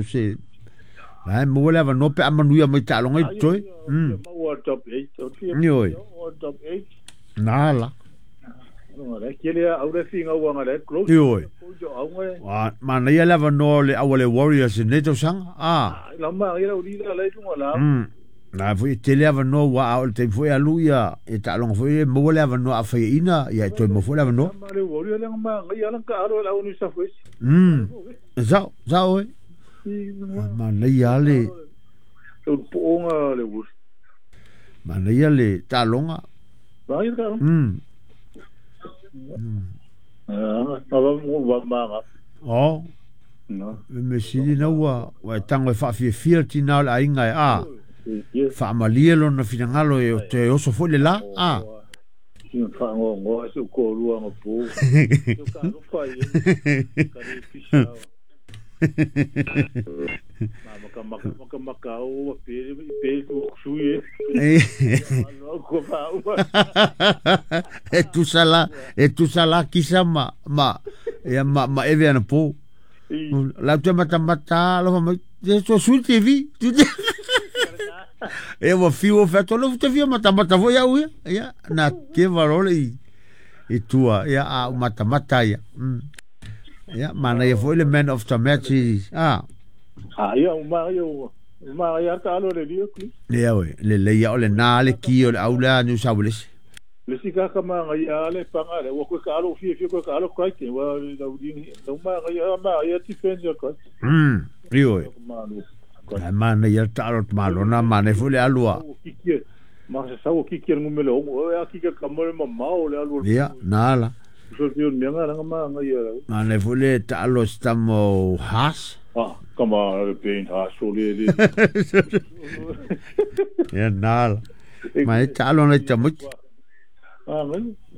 Se la maua le avanoa pe a manuia mai taaloga i totoe. Maua top 8. Ioe. Top 8. Na la. Ioe. Manaia le avanoa o le au a le Warriors i lenei tausaga. A. Na foi e tele avanoa ua a o le taimi foi e alu ia e taaloga foi e maua le avanoa a faiaina ia e toe maua foi le avanoa. E sao, sao e. Manaia le manaia le taaloga. O. Le mea sili na ua e tago e faafiafia le tinā o le aiga e a. Faamalie lona finagalo e toe oso foi le la. A. E tusa la, e tusa la kisa ma ma ia ma ma eve ana po. La te matamata alofa mai e so sui TV. E ua fiu o feato lo te fia matamata foi au ia. Ia na te varole i tua ia a u matamata ia. Ia manaia foi le man of the match i a. Ia uma ia uma ia ka alo le lia ku. Ia we le le ia o le na le ki o le au lea New South Wales. Le si ka ka ma ia le panga le wa ko ka alo fie fie ko ka alo kai te wa la udi la uma ia ma ia ti fenzi ka. Io e. Ai mana ia ta alo malo na mana foi le alua. Ma se sa o kiki ngumele o ya kiki ka mo ma ma o le alu. Ia na la. So fio me nga nga ma nga ia. Mana foi le ta alo stamo has. Ah, kama le pain ha so le le. Ia na la. Ma e ta alo na ta mo. Ah,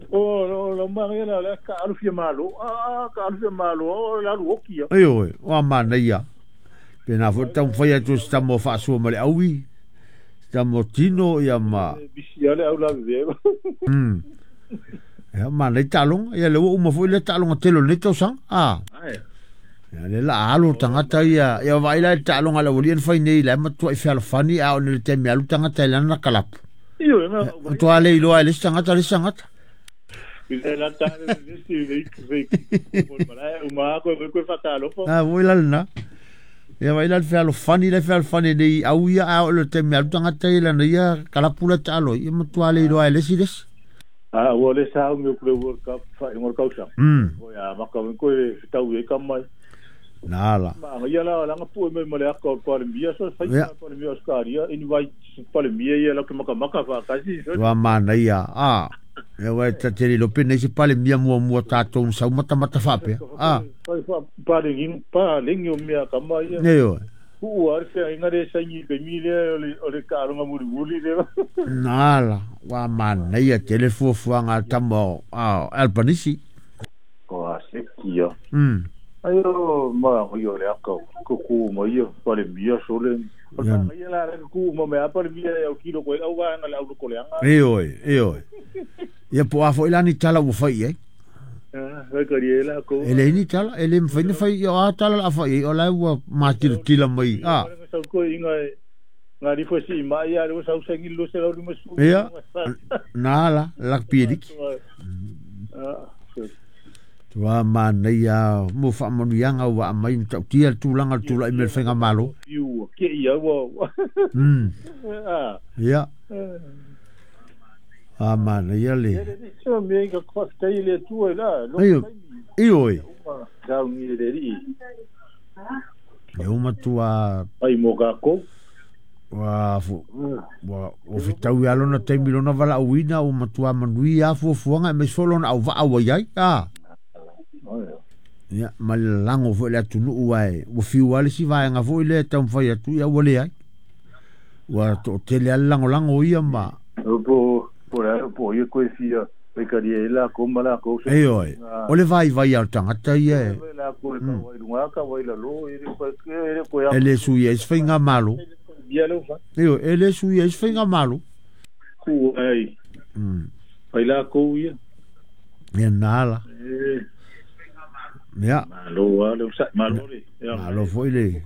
o la ma ia la ka alu fia malo. Ah, ka alu fia malo o la lu okia. Ai oi, o mana ia. Pe na foi tau fai atu stamo faasua ma le aui. Stamo tino ia ma. Bisi ale au la ve. Ia mana i taaloga. Ia le ua uma foi le taaloga tele o lenei tausaga. A. Ia le la alo tagata ia. Ia vaai la i le taaloga a le aualii na fai nei la e matuai fealofani a o le taimi alu tagata i lana kalapu. Io na. Matua le iloa e le isi tagata le isi tagata. Ah, foi la lena. Ia vai la le fealofani le fealofani nei au ia a o le taimi alu tagata i lana ia kalapu la taalo. Ia matua le iloa e le isi le isi. Ah, ua le sa au le World Cup fa i ngol kausa. O ya maka ko e tau e kamai. Na la. Ma ia la la ngapu me male aka o Palemia so fai Palemia Australia invite Palemia ia la ke maka maka fa kasi. Ua mana ia. Ah. Ia wa ta te lo pe nei se Palemia mua mua tātou sau mata mata faapea. Ah. Fai fa palengi palengi o mea kama ia. Nei o. Ua ar fe inga le sangi pe mi le o le karonga muri muri le. Na la. Ua mana ia te le fuafuaga a tama a Albanese. O a se kia. Ayo ma io le aka ko ku ma ia Palemia so le. Ia la le ku ma me Palemia e o kilo ko au wa nga le au ko le anga. E oi, e oi. Ia po a foi la ni tala ua fai ai. E le ni tala, e le mwhai na fai i o a tala la fai o la ua mātilatila mai. A. Ia, nā la, la pieliki. Tua manaia mo faamanuiaga ua aumai ma ta'utia le tulaga le tula'i mai le faigamalo. Ia. A manaia le. Aio, ioe. E uma tua. Ua ua ua fetau ia lona taimi lona valaauina ua matua manuia fuafuaga aemaise foi lona auvaa ua iai. A. Ia, ma le lalago foi le atunuu ae ua fiu lava le isi vaega foi lea e taumafai atu ia ua leai. Ua toatele lava le lagolago ia ma. Po po ia koe fia Ioe, o le vaivai a o le tagata ia e. E le sui ai se faigamalo. Ioe, e le sui ai se faigamalo. Ia nā la. Ia. Malo lava le onosai, malo le Malo foi le.